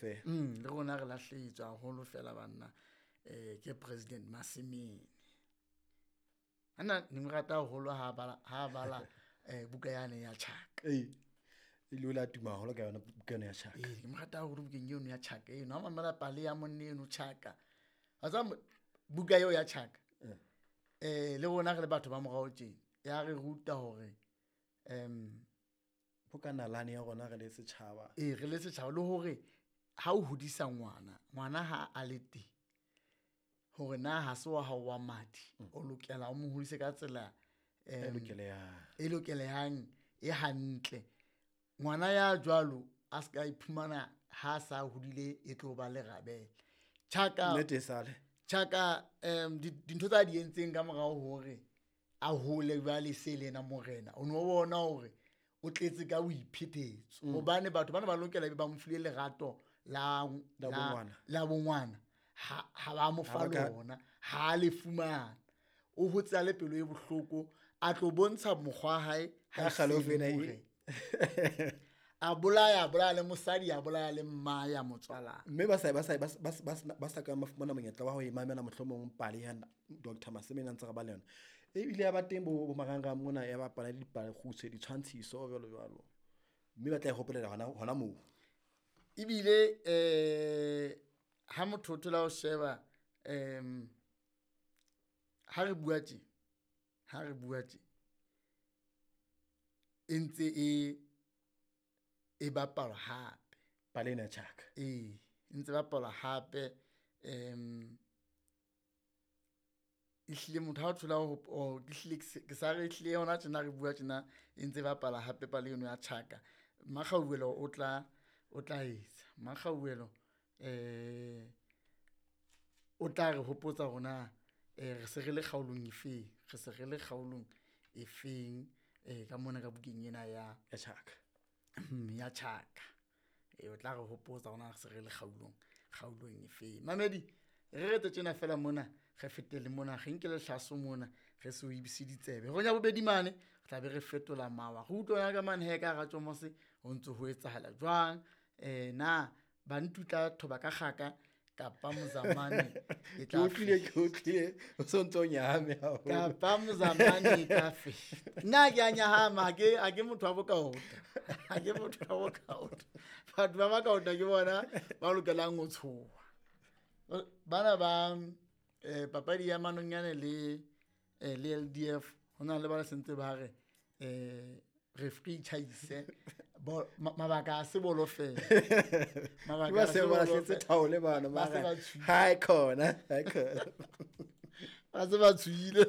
Fela. Le rona re lahlehetswe haholo fela banna, ke President Masemene. Ana ne mo rata haholo ha bala buka yane ya Chaka. Ee, e ile la tuma haholo ka yona buka eno ya Chaka. Ee, ke mo rata haholo bukeng eno ya Chaka eno. Ha mamela pale ya monna eno Chaka. Wa tseba buka eo ya Chaka. Le rona re le batho ba morao tjena, ya re ruta hore bo ka nalane ya rona re le setjhaba. Ee, re le setjhaba, le hore ha o hodisa ngwana, ngwana ha a le teng, hore na ha se wa hao wa madi, o lokela o mo hodise ka tsela e lokelehang, e lokelehang, e hantle. Ngwana ya jwalo a ska iphumana ha sa hodile e tlo ba lerabele. Chaka nnete e sale. Chaka dintho tsa di entseng ka morao hore a hole jwale se le yena morena, o no bona hore o tletse ka boiphetetso. Hobane batho bana ba lokela ba mo file lerato la la bongwana, ha ba mo fa lona, ha le fumana. O hotse a le pelo e bohloko, a tlo bontsha mokgwa hae ha kgale a bolaya, bolaya le mosadi, a bolaya le mma ya motswala. Mme ba sa ka ba fumana monyetla wa ho e mamela mohlomong pale ya Dr. Masemene a ntse re ba le yona. Ebile ya ba teng bo marangrang mona ya bapala le dipale kgutshwe, ditshwantshiso jwalo jwalo. Mme ba tla e hopolela hona moo. Ebile ha motho o thola ho sheba ha re bua tje, e ntse e bapalwa hape. Pale ena ya Chaka. Ee, e ntse bapalwa hape. Ehlile motho ha o thola ho ehlile ke sa re ehlile hona tjena re bua tjena e ntse bapala hape pale eno ya Chaka. Makgauwelo o tla etsa. Makgauwelo o tla re hopotsa hore re se re le kgaolong efeng, re se re le kgaolong efeng ka mona ka bukeng ena ya Chaka. Ya Chaka. O tla re hopotsa hore re se re le kgaolong efeng. Mamedi, re retse tjena fela mona, re fetele mona, re nke lehlaso mona, re se o ibise ditsebe. Ronya bobedi mane, re tla be re fetola mawa. Re utlwana ka mane he ka hara tjomose ho ntse ho etsahala jwang. Na bantutla thoba ka kgaka kapa mozamane e tla ke o sontso nyahame haholo. Kapa mozamane e tla fe. Nna ke a nyahama, ha ke motho wa bokaota. Ha ke motho wa bokaota. Batho ba bakaota ke bona ba lokelang ho tshoha. Bana ba papadi ya manonyane le LDF hona le ba sentse ba re referee tjhaise mabaka a se bolo fela. Mabaka a se ba hletse thaole bana ba re hai khona, hai khona. Ba se ba tswile.